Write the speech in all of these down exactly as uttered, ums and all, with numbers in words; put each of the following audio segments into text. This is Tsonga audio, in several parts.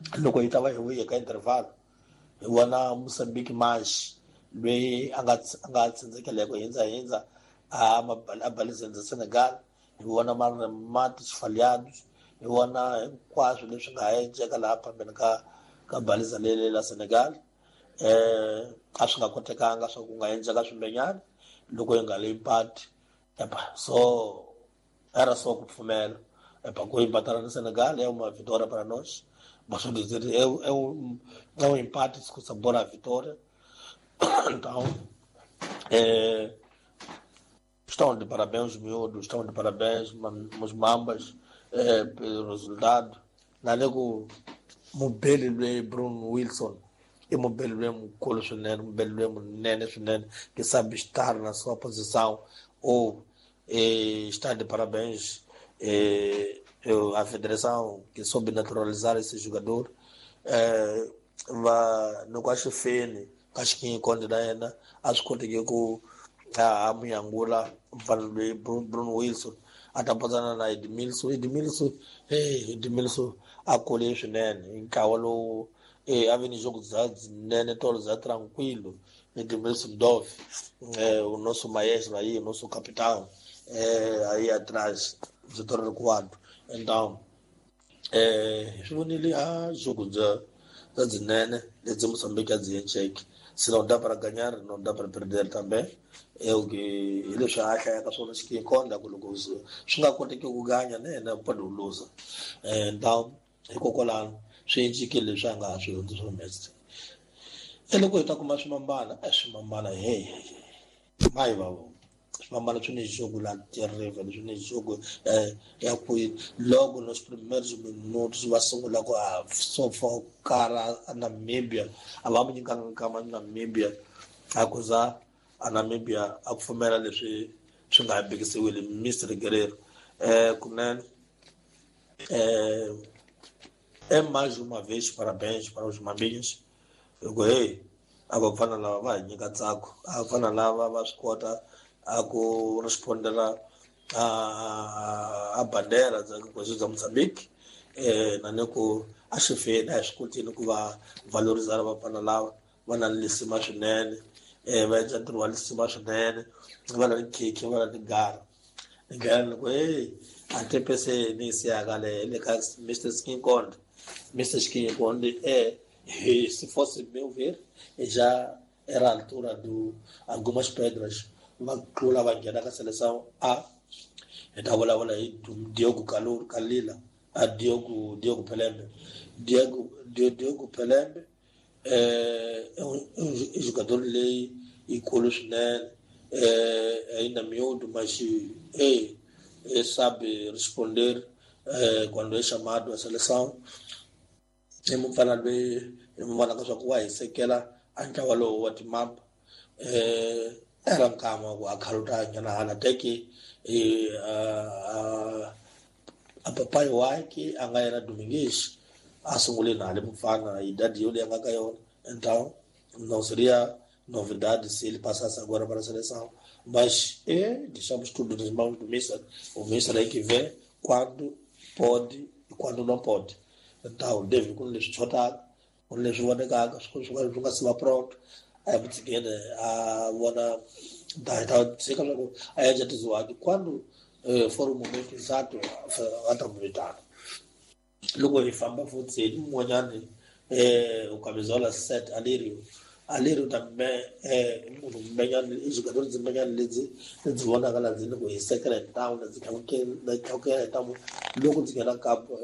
Loko hi ta va hi vuye ka intervalo hi vona Mozambique mais loyi a nga a nga tsandzekela ku hindza hindza a a balizeni Senegal. Hi vona maremates falhados, hi vona hinkwaswo leswi nga endleka laha phambeni ka ka baliza leli la Senegal. Eh a swi nga kotekanga swa ku nga endleka swimbenyana loko hi nga le empate. Epa so era só ku pfumela epa ku empatar na Senegal é uma vitória para nós. Posso dizer, é, é, um, é um empate com sabor à vitória. Então, é, estão de parabéns os miúdos, estão de parabéns os mambas, é, pelo resultado. Naleko mubeli lwe Bruno Wilson, e mubeli lwe mukolo swinene, mubeli lwe munene swinene, que sabe estar na sua posição ou é, está de parabéns. É, a federação que soube naturalizar esse jogador, eh, va loko a xi feni ka xikinyikonde na yena a swi koteki ku a munyangula mfana loyi Bruno Wilson a ta potsana na Edmilson. Edmilson hey Edmilson a kule swinene hi ntlawa lowu eh, a vi ni jogo bya byinene tolo bya tranquilo. Edmilson Dove, eh, o nosso maestro aí, o nosso capitão, eh, aí atrás, setor recuado. Então, eh, swi vonile a jogo bya bya byinene lebyi Mozambique a byi endleke. Se não dá para ganhar, não dá para perder também. É o que hi leswi a hlayaka swona xikinkonda ku loko swi nga koteki ku ganya na yena pode luza. Então, hikokwalano swi encikile leswi a nga ha swi hundzi swo mestre. E loko hi ta kuma swimambana, e swimambana hey mayi va vona. Swimambana swi ni jogo la terrível, swi ni jogo eh, ya ku logo nos primeiros minutos va sungula ku a sofocar a Namíbia, a va mu nyikanga nkama Namíbia, a ku za a Namíbia a pfumela leswi swi nga bikisiwile Mister Guerreiro. Eh, kunene eh, é mais uma vez parabéns para os mambinhos. Loko hey a vafana lava va hi nyika ntsako, a vafana lava va swi kota a ku respondela a a bandera bya bya Mozambique. Eh na ni ku a xi feni a hi swi kotini ku va valorizana vafana lava va na lisima swinene, eh va endla ntirho wa lisima swinene, va na khekhe, va na tigara. Ni ndlela ni ku hey a tepese ni siyaka le le ka Mister Skinkonde. Mister Skinkonde eh se fosse meu ver, já era a altura de algumas pedras va tlula va nghena ka seleção A. Hi ta vulavula hi Diogo Kalila, a Diogo Diogo Pelembe. Diogo Diogo Pelembe é um, um jogador leyi yikulu swinene, é ainda miúdo, mas é, é sabe responder é, quando é chamado à seleção. I mufana loyi hi mu vonaka swa ku wa hisekela a ntlawa lowu wa timapa. Eh, era nkama ku a khaluta nghena hala teke eh, a, a papai wakhe a nga yena Domingues a sungule na le mufana idade yoleyi a nga ka yona. Então não seria novidade se ele passasse agora para a seleção, mas é, deixamos tudo nas mãos do Mister. O Mister é que vê quando pode e quando não pode. Então deve ku leswi xotaka, ku leswi vonekaka swi swi nga si va pronto, a hi mutshikeni a vona ta ta tshika loko a endla tiziwaki quando eh, for o momento exato a ta mu vitana. Loko hi famba futhi hi mun'wanyani eh, o camisola sete Alirio. Alirio também é munhu mbenyani, i jogador dzimbenyani lebyi lebyi vonaka laha ndzi loko hi sekela hi ntamu ndzi tlakukela tlakukela hi ntamu loko ndzi nghena kampo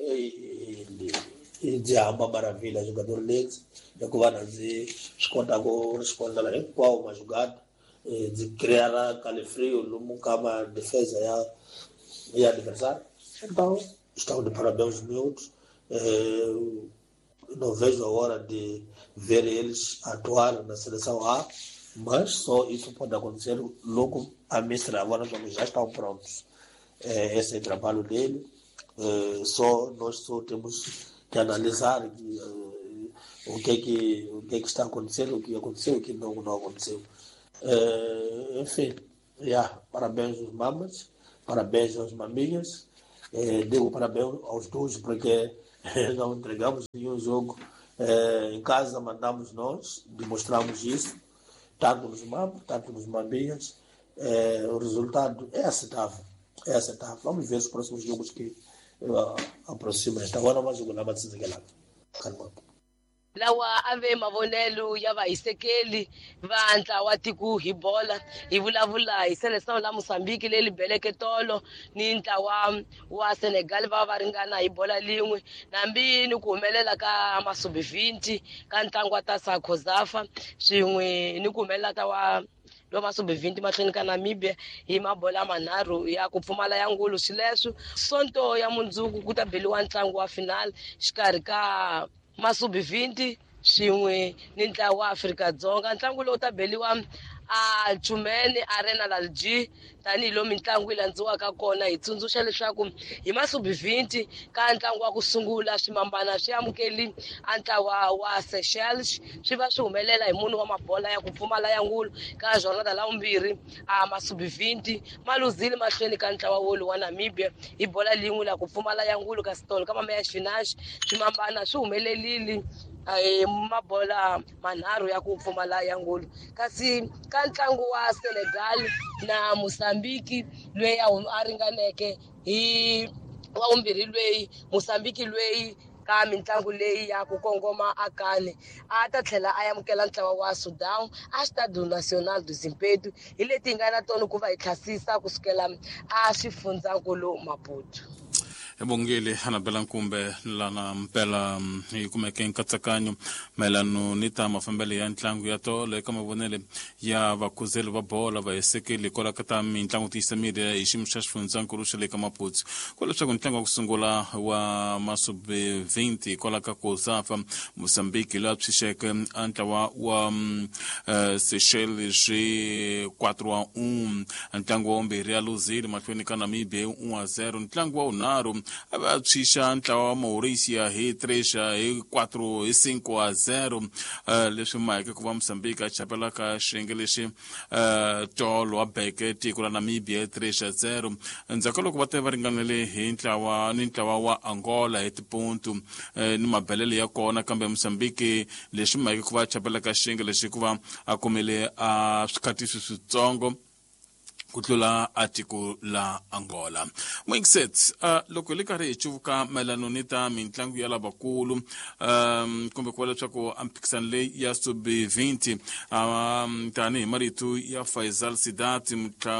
ndzi hamba maravilha jogador lebyi hikuva na ndzi swi kota ku respondela hinkwawo majugada, ndzi creara calefrio lomu ka ma defesa ya ya adversário. Então estão de parabéns os miúdos. Eh, não vejo a hora de ver eles atuar na seleção A, mas só isso pode acontecer logo a Mister agora os já estão prontos. É, esse é o trabalho dele. É, só nós só temos que analisar que, o que é que o que é que está acontecendo, o que aconteceu, o que não não aconteceu. É, enfim, yeah, parabéns aos mamas, parabéns aos maminhas. É, digo parabéns aos dois porque Não entregamos nenhum jogo. Eh, em casa mandamos nós, demonstramos isso, tanto nos Mambos, tanto nos Mambias. Eh, o resultado é aceitável. É aceitável. Vamos ver os próximos jogos que uh, aproximam. Agora vamos jogar na Calma. Lawa ave mavonelo ya vahisekeli va ntlawa tiko hi bola hi vulavula hi Seleção la Mozambique leyi beleke tolo ni ntlawa wa Senegal va va ringana hi bola lin'we nambi ni ku humelela ka Masubi ka ntlangu wa Tasa Khozafa swin'we ni ku humelela ka wa lo Masubi mahlweni ka Namibia hi mabola manharhu ya ku pfumala ya ngulu. Swileswo Sonto ya mundzuku ku ta beliwa ntlangu wa final xikarhi ka Masubi swin'we ni ntlawa wa Afrika-Dzonga. Ntlangu lowu ta beliwa a Chumene Arena Lalji tanihilo mitlangu yi landziwaka kona. Hi tsundzuxa leswaku hi Masubi ka ntlangu wa ku sungula swimambana swi amukeli a ntlawa wa Seychelles swi va swi humelela hi munhu wa mabola ya ku pfumala ya ngulu. Ka jornada la vumbirhi a Masubi ma luzile mahlweni ka ntlawa wolu wa Namibia hi bola lin'we la ku pfumala ya ngulu. Kasi tolo ka mameya xifinaxi swimambana swi humelelile mabola manharhu ya ku pfumala ya ngulu. Kasi ka ntlangu wa Senegal na Mozambique loyi a ringaneke hi wa vumbirhi loyi Mozambique loyi ka mitlangu leyi ya ku kongoma akane a ta tlhela a amukela ntlawa wa Sudan a Estádio Nacional do Zimpeto. Hi leti hi nga na tona ku va hi tlhasisa kusukela a xifundzankulu Maputo. Ebongile Anabela Nkumbe lana mpela hi kumeke nkatsakanyo mayelano ni ta mafambelo ya ntlangu ya tolo eka mavonele ya vakhuzeli va bola vahisekeli kwala ka ta mitlangu tiyisa miri hi xiyimo xa xifundzankulu xa le ka Maputo. Kwala leswaku ntlangu wa ku sungula wa Masubi twenty kwala ka Kosafa Mozambique loyi a tshunxeke a ntlawa wa Seychelles hi quatro a um, ntlangu wa vumbirhi a luzile mahlweni ka Namibia hi un a zero, ntlangu wa vunharhu a va tshunxa ntlawa wa Mauricia hi três hi quatro hi cinco a zero. Leswi maheke ku va Mozambique a chapela ka xiyenge lexi tolo a beke tiko la Namibia hi três a zero. Endzhaku ka loko va te va ringanele hi ntlawa ni ntlawa wa Angola hi tipontu ni mabelele ya kona, kambe Mozambique leswi maheke ku va chapela ka xiyenge lexi ku va a kumile a swikhatisi switsongo ku tlula a tiko la Angola. Mwingisets, uh, loko hi le karhi hi cuvuka mayelano ni ta mitlangu ya lavakulu um, kumbe ku va leswaku a mphikisano leyi ya sub twenty um, tanihi marito ya Faisal Sidat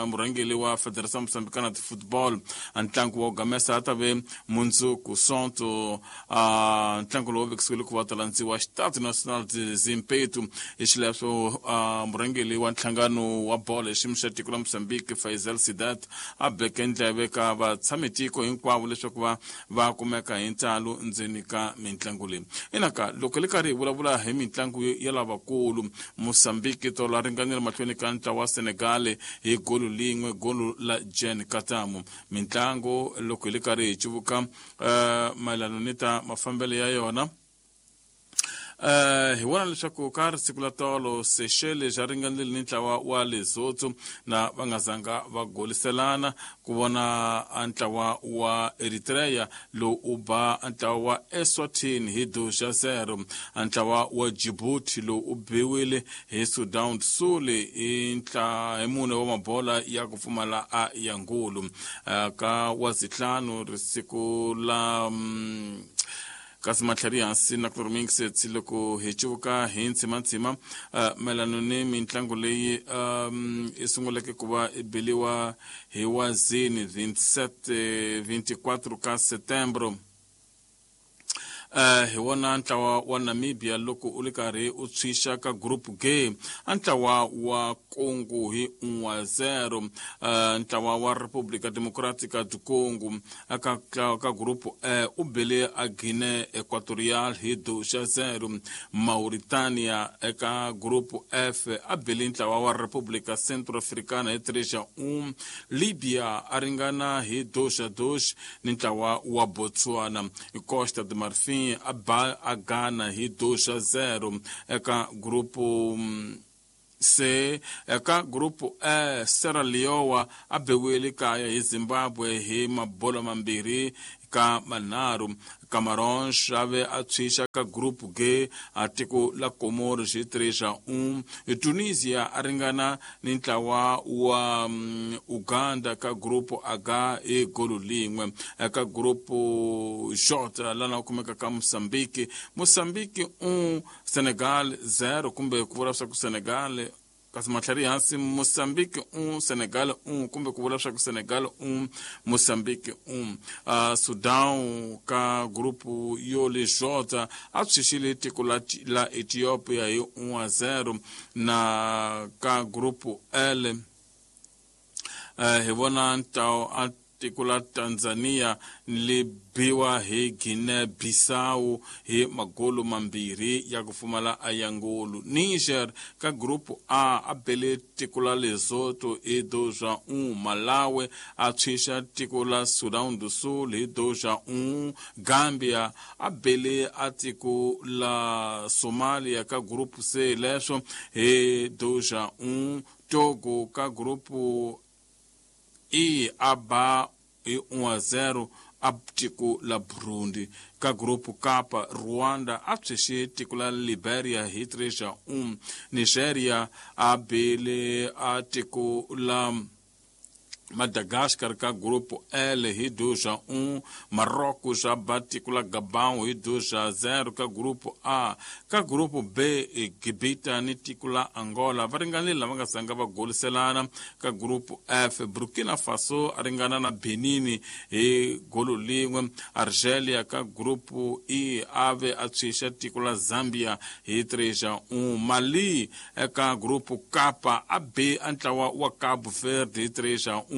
murhangeri wa Federação Moçambicana de Football, a ntlangu wa gamesa a ta ve mundzuku Sonto uh, ntlangu lowu vekisiwile ku va ta landziwa Estádio Nacional de Zimpeto. Hi xileswo uh, murhangeri wa nhlangano wa bolo hi xiyimo xa tiko la Mozambique Faisal Sidat a beke ndleve ka vatshamitiko hinkwavo leswaku va va kumeka hi ntalo ndzeni ka mitlangu leyi. Inaka loko le karhi hi vulavula hi mitlangu ya lavakulu, Mozambique tolo a ringanela mahlweni ka ntlawa wa Senegal hi golo lin'we, golo la Jean Katamu. Mitlangu loko hi le karhi hi cuvuka uh, mayelano ni ta mafambelo ya yona, Uh, hi vona leswaku ka ri la tolo Seychelles a ringanile ni ntlawa wa Lesotho na va nga zanga va goliselana ku vona a ntlawa wa Eritrea lowu u ba a ntlawa wa Eswatini hi dois a zero, a ntlawa wa Djibouti lowu u biwile hi Sudan Sul hi ntla hi mune wa mabola ya ku pfumala a ya ngulu. Uh, ka wa zitlhanu risiku la um, kasi matlhari hansi na ku rimingset loko hi cuvuka hi ntsimantsima uh, mayelano ni mitlangu leyi um, i sunguleke ku va i beliwa hi wazini twenty-seven twenty-four ka setembro. Uh, hi wona ntlawa wa Namibia loko u le karhi u tshunxa ka group G a ntlawa wa Congo hi un a zero, uh, ntlawa wa República Democrática do Congo ka, ka group E u bele a Guinea Equatorial hi dois a zero, Mauritania eka group F a bele ntlawa wa República Centro-Africana hi três a um, Libya a ringana hi dois a dois ni ntlawa wa Botswana, Costa de Marfim a ba a Ghana hi dois a zero eka grupo C. Eka grupo E Sierra Leone a biwile kaya hi Zimbabwe hi mabola mambirhi ka manharhu. Camarões ave a tshwixa ka group G a tiko la Comoros hi três a um. Tunisia a ringana ni ntlawa wa um, Uganda ka group H hi golo lin'we. Ka group J lana kumeka ka Mozambique, Mozambique um, Senegal zero, kumbe ku vula swa ku Senegal kasi matlhari hansi Mozambique um, Senegal um, kumbe ku vula swa ku Senegal um, Mozambique um. Uh, Sudan ka grupo yo le J a tshwixile tiko la, la Ethiopia hi um a zero. Na ka grupo L uh, hi vona ntlawa a tiko la Tanzania li biwa hi Guinea-Bissau hi magolo mambirhi ya ku pfumala a ya ngolo. Niger ka grupo A a bele tiko la Lesotho hi dois a um. Malawi a tshwixa tiko la Sudan do Sul hi dois a um. Gambia a bele a tiko la Somalia ka grupo C leswo hi dois a um. Togo ka grupo E a ba hi um a zero a tiko la Burundi. Ka grupo K, Rwanda a tshwexe tiko la Liberia hi três a um. Nigeria a bele a tiko la Madagascar ka grupo L hi dois a um. Marrocos a ba tiko la Gabão hi dois a zero ka grupo A. Ka grupo B, Gibita ni tiko la Angola va ringanile lava nga zanga va goliselana. Ka grupo F, Burkina Faso a ringana na Benin hi golo lin'we. Argelia ka grupo E ave a tshwixa tiko la Zambia hi três a um. Mali eka grupo K a be a ntlawa wa Cabo Verde hi três a um.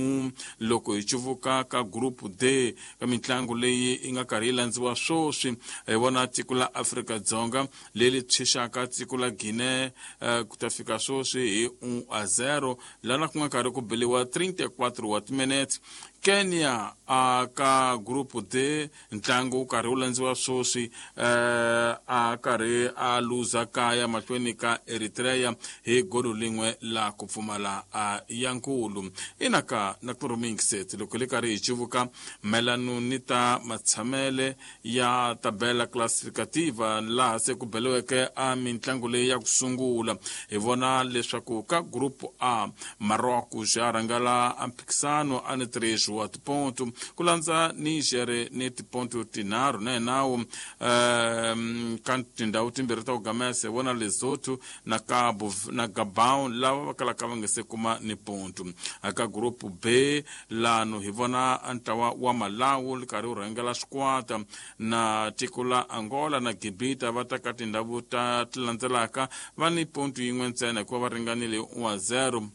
Loko hi cuvuka ka grupo D ka mintlangu leyi yi nga karhi yi landziwa swoswi, hi vona tiko la Afrika-Dzonga leri tshwixaka tiko la Guinea uh, ku ta fika swoswi hi um a zero, lana ku nga karhi ku beliwa trinta e quatro wa timinete. Kenya a ka grupo D ntlangu wu karhi wu landziwa swoswi, uh, a karhi a luza kaya mahlweni ka Eritrea hi golo lin'we la ku pfumala a ya nkulu. Ina ka na kurumingiset loko li karhi hi cuvuka mayelano ni ta matshamele ya tabela classificativa laha se ku beliweke a mintlangu leyi ya ku sungula, hi vona leswaku ka grupo A Marrocos ya rhangela a mphikisano a ni três wa tiponto, ku landza Niger ni tiponto tinharhu na hinawu. Um, ka tindhawu timbirhi ta ku gamesa hi vona Lesotho na Cabo na Gabon lava va kalaka va nga se kuma ni ponto. Ka grupo B lano hi vona ntlawa wa Malawi li karhi wu rhangela swikwata na tiko la Angola na Gibita va ta ka tindhawu ta ti landzelaka va ni ponto yin'we ntsena hikuva va ringanile um a zero.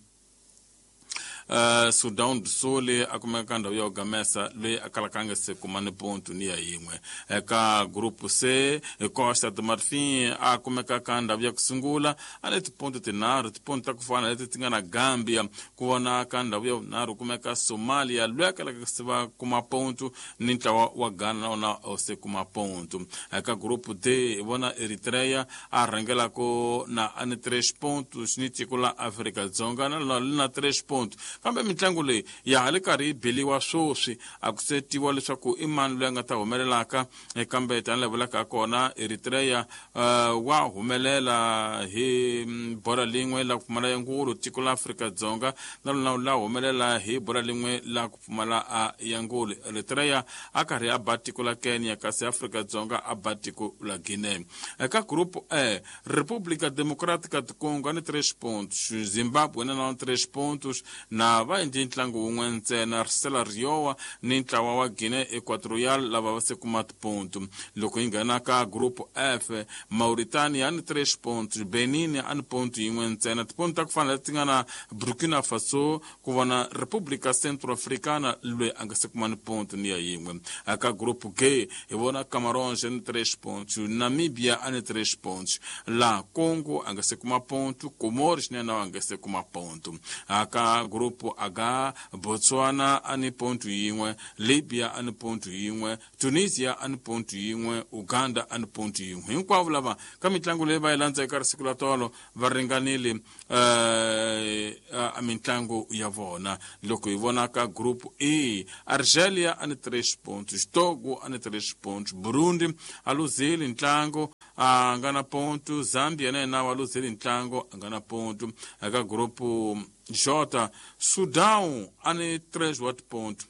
Uh, Sudan do Sul a kumeka ka ndhawu ya ku gamesa loyi a kalaka a nga se kuma ni ponto ni ya yin'we. Eka grupo C, Costa do Marfim a kumeka ka ndhawu ya ku sungula a ni tiponto tinharhu, tiponto ta ku fana leti ti nga na Gambia. Ku vona ka ndhawu ya vunharhu kumeka Somalia loyi a kalaka se va kuma ponto ni ntlawa wa Ghana na wona a se kuma ponto. Eka grupo D hi vona Eritrea a rhangelako na a ni três pontos ni tiko la Afrika-Dzonga na lona li na três pontos. Kambe mintlangu leyi ya ha li karhi yi beliwa swoswi, a ku se tiviwa leswaku i mani loyi a nga ta humelelaka. Kambe tanihi vulaka kona Eritrea uh, wa humelela hi bora lin'we la ku pfumala ya ngulu, tiko la Afrika-Dzonga na lona la humelela hi bora lin'we la ku pfumala a ya ngulu. Eritrea a karhi a ba tiko la Kenya, kasi Afrika-Dzonga a ba tiko la Guinea. Eka grupo E, República Democrática do Congo a ni três pontos, Zimbabwe na na três pontos, na va endli ntlangu wun'we ntsena, Sierra Leone ni ntlawa wa Guinea Equatorial lava va se kuma tiponto. Loko yi nghena ka grupo F, Mauritania ni três pontos, Benin a ni ponto yin'we ntsena, tiponto ta ku fana leti nga na Burkina Faso, ku vona República Centro-Africana loyi a nga se kuma ni ponto ni ya yin'we. Ka grupo G hi vona Camarões ni três pontos, Namibia a ni três pontos, la Congo a nga se kuma ponto, Comores na yena a nga se kuma ponto. Ka grupo grupu H Botswana ani ponto yin'we Libya ani ponto yin'we Tunisia ani ponto yin'we Uganda ani ponto yin'we hinkwavo lava ka mitlangu leyi va yi landza eka risiku la tolo va ringanile uh, mitlangu ya vona loko hi vona ka grupu E Argelia ani três pontos Togo ani três pontos Burundi a luzile ntlangu a nga na ponto Zambia na yena wa luzile ntlangu a nga na ponto eka grupu J Sudão ani três wat ponto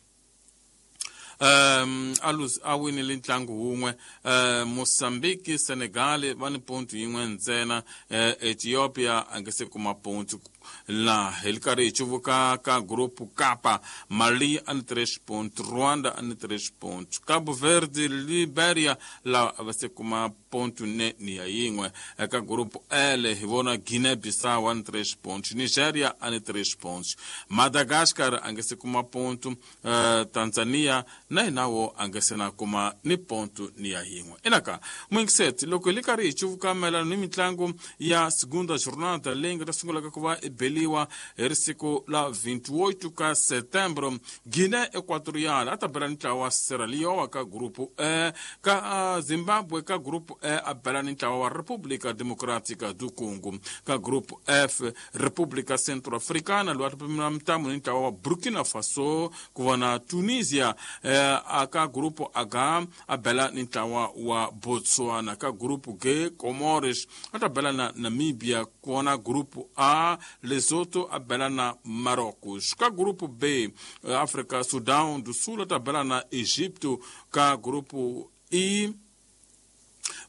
um aluz a winile ntlangu wun'we uh, Mozambique Senegal va ni ponto yin'we ntsena uh, Ethiopia a nge se kuma ponto la hi ri karhi hi cuvuka ka grupu Kapa Mali a ni três ponto Rwanda a ni três ponto Cabo Verde Liberia lawa a va se kuma ponto ne ni ya yin'we eka grupu L hi vona Guinea Bissau a ni três pontos Nigeria a ni três pontos Madagascar a nge se kuma ponto uh, Tanzania na hina wo a nge se na kuma ni ponto ni ya yin'we enaka mwingiseti loko hi ri karhi hi cuvuka mayelana ni mitlangu ya segunda jornada leyi nga ta sungulaka ku va beliwa hi risiku la vinte e oito ka setembro Guiné Equatorial a ta bela ni ntlawa wa Sierra Leone ka grupu E ka Zimbabwe ka grupu E a bela ni ntlawa wa República Democrática do Congo ka grupu F República Centro-Africana loyi a ta pimela mitamu ni ntlawa wa Burkina Faso ku vona Tunisia eh, a ka grupu H a bela ni ntlawa wa Botswana ka grupu G Comores a ta bela na Namibia ku vona grupu A Lesotho a bela na Marrocos ka grupo B África Sudão do Sul a bela na Egito ka grupo I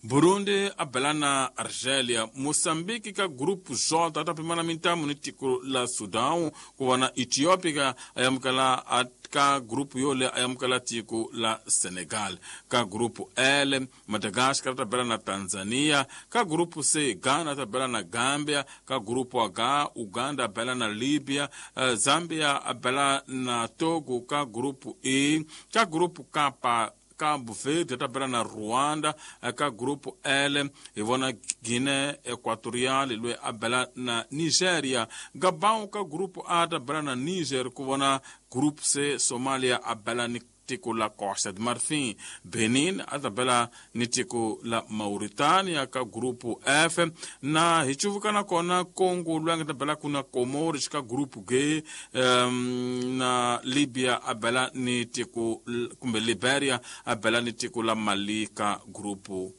Burundi a bela na Argélia Moçambique ka grupo J ta pimana mintamu ni tiko la Sudão ku va na Ethiopia a amukela ka grupo yole a amukela tiko la Senegal ka grupo L Madagascar ta bela na Tanzania ka grupo C Ghana ta bela na Gambia ka grupo H Uganda bela na Libya Zambia a bela na Togo ka grupo E ka grupo K Cabo Verde ta bela na Rwanda ka grupo L hi vona Guiné Equatorial loyi a bela na Nigeria Gabon ka grupo A ta bela na Niger ku vona grupo C Somalia a bela ni tiko la Costa de Marfim Benin a ta bela ni tiko la Mauritania ka grupo F na hi cuvuka na kona Congo loyi a nga ta bela ku na Comores ka grupo G um, na Libya a bela ni tiko kumbe Liberia a bela ni tiko la Mali ka grupo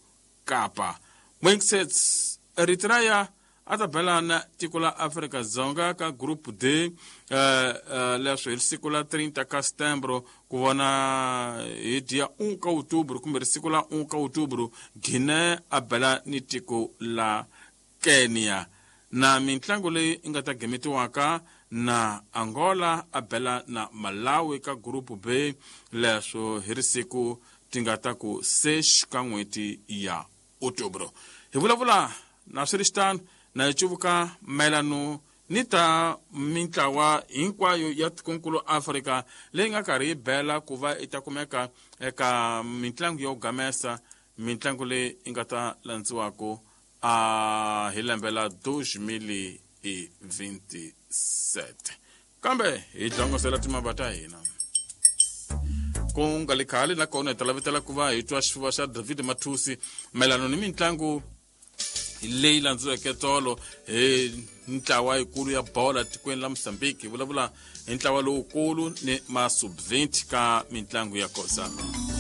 Kapa Wingsets Eritrea a ta bela na tiko la Afrika Dzonga ka grupo D uh, uh, leswo hi siku la trinta ka setembro ku vona hi dia um ka outubro kumbe siku la um ka outubro Guiné a bela ni tiko la Kenya na mintlangu leyi yi nga ta gemetiwaka na Angola a bela na Malawi ka grupo B leswo hi risiku ti nga ta ku seis ka n'hweti ya outubro hi vulavula na swi ri xitano na hi cuvuka mayelano ni ta mintlawa hinkwayo ya tikonkulu Afrika leyi nga karhi yi bela ku va yi ta kumeka eka mitlangu yo gamesa mitlangu leyi yi nga ta landziwaka a hi lembe la dois mil e vinte e sete kambe hi dlongosela timava ta hina ku nga li khale nakona hi ta lavetela ku va hi twa xifuva xa David Mathusi mayelano ni mitlangu leyi landziweke tolo hi ntlawa yikulu ya bola tikweni la Mozambique hi vulavula hi ntlawa lowukulu ni ma sub vinte ka mitlangu ya kosa.